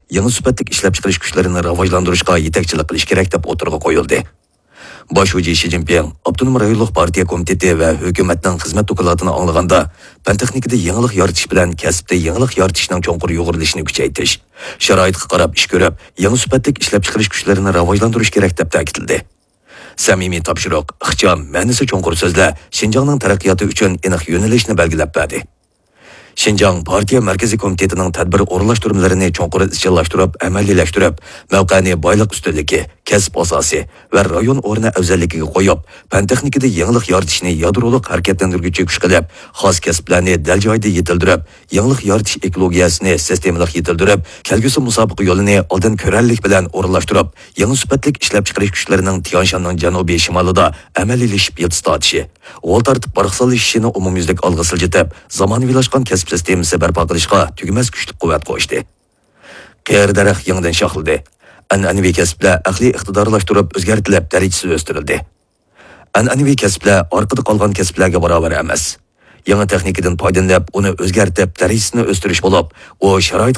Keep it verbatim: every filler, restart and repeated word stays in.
يېڭى سۈپەتلىك ئىشلەپچىقىرىش كۈچلىرىنى راۋاجلاندۇرۇشقا يېتەكچىلىك قىلىش كېرەك، دەپ ئوتتۇرىغا قويۇلدى. باش شۇجى شى جىنپىڭ ئاپتونوم رايونلۇق پارتىيە كومىتېتى ۋە ھۆكۈمەتنىڭ خىزمەت دوكلاتىنى ئاڭلىغاندا، پەن تېخنىكىدا يېڭىلىق يارىتىش بىلەن كەسىپتە يېڭىلىق يارىتىشنىڭ چوڭقۇر يۇغۇرۇلۇشىنى كۈچەيتىش، شارائىتقا قاراپ ئىش كۆرۈپ، يېڭى سۈپەتلىك ئىشلەپچىقىرىش كۈچلىرىنى راۋاجلاندۇرۇش كېرەك، دەپ تەكىتلىدى. سەمىمىي تاپشۇرۇق، ئىخچام، مەنىسى چوڭقۇر سۆزلەر شىنجاڭنىڭ تەرەققىياتى ئۈچۈن ئېنىق يۆنىلىشنى بەلگىلەپ بەردى. شىنجاڭ پارتىيە مەركىزىي كومىتېتىنىڭ تەدبىر ئورۇنلاشتۇرمىلىرىنى چوڭقۇر ئىزچىللاشتۇرۇپ، ئەمەلىيلەشتۈرۈپ، مەۋقەنى بايلىق ئۈستۈنلۈكى، كەسىپ ئاساسى ۋە رايون ئورنى ئەۋزەللىكىگە قويۇپ، پەن تېخنىكىدا يېڭىلىق يارىتىشنى يادرولۇق ھەرىكەتلەندۈرگۈچى كۈچ قىلىپ، خاس كەسىپلەرنى دەل جايىدا يېتىلدۈرۈپ، يېڭىلىق يارىتىش ئېكولوگىيەسىنى سىستېمىلىق يېتىلدۈرۈپ، كەلگۈسى مۇسابىقە يولىنى ئالدىن كۆرەرلىك بىلەن ئورۇنلاشتۇرۇپ، يېڭى سۈپەتلىك ئىشلەپچىقىرىش كۈچلىرىنىڭ تيەنشاننىڭ جەنۇبىي شىمالىدا ئەمەلىيلىشىپ يىلتىز تارتىشى، غول تارتىپ باراقسانلىشىشىنى ئومۇميۈزلۈك ئالغا سىلجىتىپ، زامانىۋىلاشقان كەسىپ سىستېمىسى بەرپا قىلىشقا تۈگىمەس كۈچلۈك قۇۋۋەت قوشتى. قېرى دەرەخ يېڭىدىن شاخلىدى. ئەنئەنىۋى كەسىپلەر ئەقلىي ئىقتىدارلاشتۇرۇپ ئۆزگەرتىلىپ، دەرىجىسى ئۆستۈرۈلدى. ئەنئەنىۋى كەسىپلەر ئارقىدا قالغان كەسىپلەرگە باراۋەر ئەمەس. يېڭى تېخنىكىدىن پايدىلىنىپ، ئۇنى ئۆزگەرتىپ، دەرىجىسىنى ئۆستۈرۈش بولۇپ، ئۇ شارائىت